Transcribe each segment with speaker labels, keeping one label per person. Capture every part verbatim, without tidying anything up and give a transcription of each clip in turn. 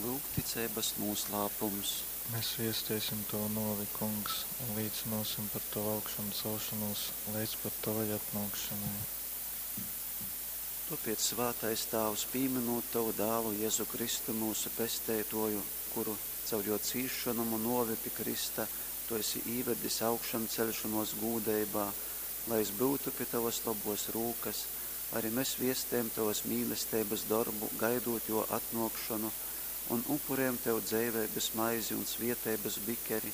Speaker 1: Lūk ticeibas nūslāpums.
Speaker 2: Mēs viesteisim Tavu nōvi, Kungs, un līcynōsim par Tavu augšamcelšonūs leidz pat Tovai atnōkšanai.
Speaker 1: Tōpēc, svātais Tāvs, pīmynūt Tovu Dālu Jezu Kristu, myusu Pesteitōju, kuru caur jō cīsšonom un nōvi pi krysta Tu esi īvedis augšamceļšonōs gūdeibā, lai jys byutu pi Tovas lobōs rūkas, ari mes viestejam Tovas mīlesteibas dorbu, gaidūt Jō atnōkšonu, un upurejam Tev dzeiveibas maizi un svieteibas bikeri.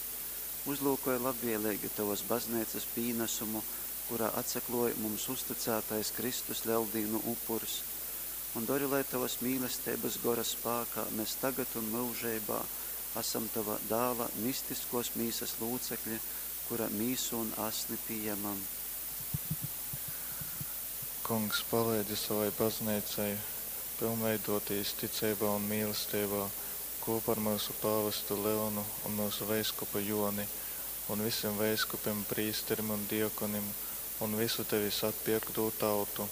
Speaker 1: Uzlūkoj labvieleigi Tovas Bazneicas pīnasumu, kurā atsaklōj mums uztycātais Kristus Leldīnu upurs, un dori, lai Tovas mīlesteibas Gora spākā mes tagad un myužeibā asam Tova Dāla mistiskōs mīsas lūcekļi, kura mīsu un asni pījemam.
Speaker 2: Kungs, paleidzi savai Bazneicai pilnveidotīs ticeibā un mīlesteibā kūpā ar myusu pāvestu Leonu un myusu veiskupu Joni un visim veiskupim, prīsterim un diakonim un visu Tevis atpierktū tautu.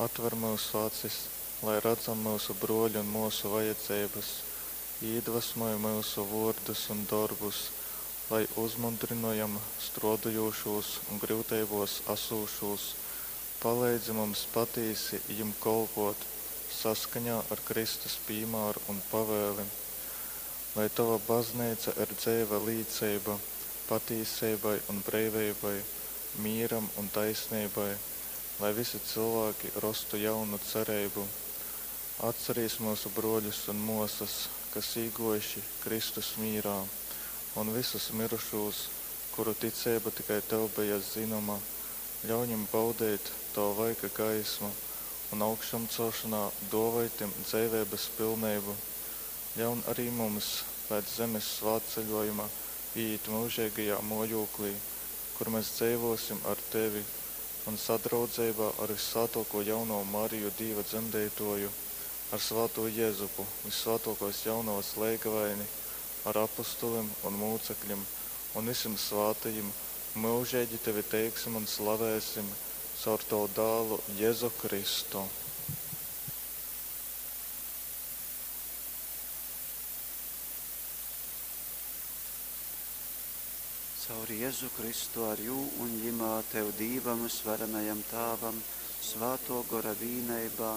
Speaker 2: Atver myusu acis, lai radzam myusu brōļu un mōsu vajadzeibas, īdvasmoj myusu vōrdus un dorbus, lai uzmundrynojam strōdojūšūs un gryuteibōs asūšūs. Paleidzi mums patīsi jim kolpōt saskaņā ar Kristus pīmāru un pavēli. Lai Tova Bazneica ir dzeiva līceiba patīseibai un breiveibai, mīram un taisneibai, lai visi cilvēki rostu jaunu cereibu. Atcerīs myusu brōļus un mōsas, kas īgōjuši Kristus mīrā, un visus mirušūs, kuru ticeiba tikai Tev beja zynoma, ļauj viņim baudeit Tava vaiga gaismu un augšamcelšanā dōvoj tim dzeiveibas pilneibu. Ļaun arī mums pēc zemes svātceļojuma iet myužeigajā mōjūklī, kur mēs dzeivosim ar Tevi un sadraudzeibā ar Vyssvātōko jaunovu Mariju Dīva dzemdeitōju, ar svātū Jezupu, Vyssvātōkōs jaunovas leigavaini, ar apustulim un mūcekļim un visim svātajim myužeigi Tevi teiksim un slavēsim caur Tavu dālu Jezu Kristu.
Speaker 1: Caur Jezu Kristu ar jū un jimā Tev Dīvam Vysvarenajam Tāvam, Svātō Gora vīneibā,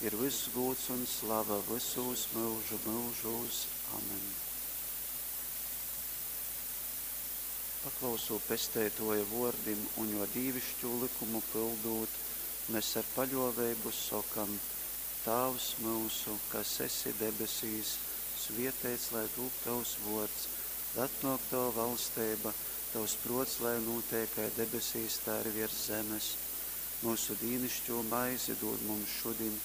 Speaker 1: ir vyss gūds un slava vysūs myužu myužūs. Amen. Paklausūt Pesteitōja vōrdim un jō dīviškū lykumu pyldūt, mes ar paļōveibu sokam: Tāvs myusu, kas esi debesīs, svieteits lai tūp Tovs vōrds, lai atnōk Tova valsteiba, Tovs prōts lai nūteik kai debesīs, tai arī viers zemes. Myusu dīnišķū maizi dūd mums šudiņ,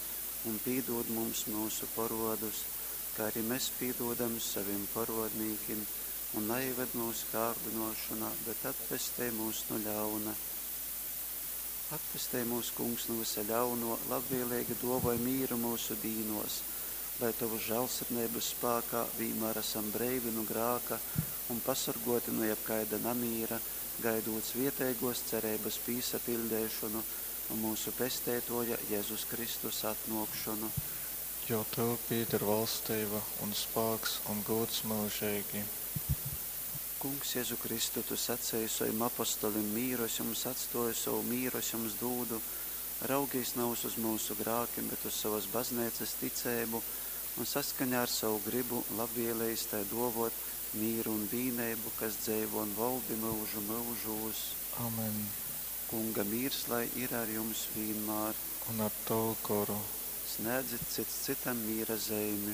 Speaker 1: un pīdūd mums myusu porōdus, kā arī mēs pīdūdam savim porōdnīkim, un naieved mūsu kārdinošanā, bet atpestej mūs no ļauna. Atpestej mūs, Kungs, no visa ļauno, labvēlīgi dovoj mīru mūsu dīnos, lai Tavu žēlsirdneibas spākā vienmēr esam breivi no grāka un pasargoti no jebkaida namīra, gaidot svieteigos cereibas pīsapildeišonu un mūsu Pesteitoja Jēzus Kristus atnōkšonu.
Speaker 2: Jo Tev pieder valstība un spāks un gods mūžīgi.
Speaker 1: Kungs, Jēzu Kristu, Tu sacēji savim apostolim, mīru es jums atstoju, savu mīru es jums dūdu. Raugīs nevis uz mūsu grākiem, bet uz savas baznīcas ticēbu un saskaņā ar savu gribu labvēlējis tai dovot mīru un vīneibu, kas dzeivo un valdi mūžu mūžūs.
Speaker 2: Amen.
Speaker 1: Kunga mīrs lai ir ar jums vienmēr.
Speaker 2: Un ar tavu goru.
Speaker 1: Snēdzit cits citam mīra zeimi.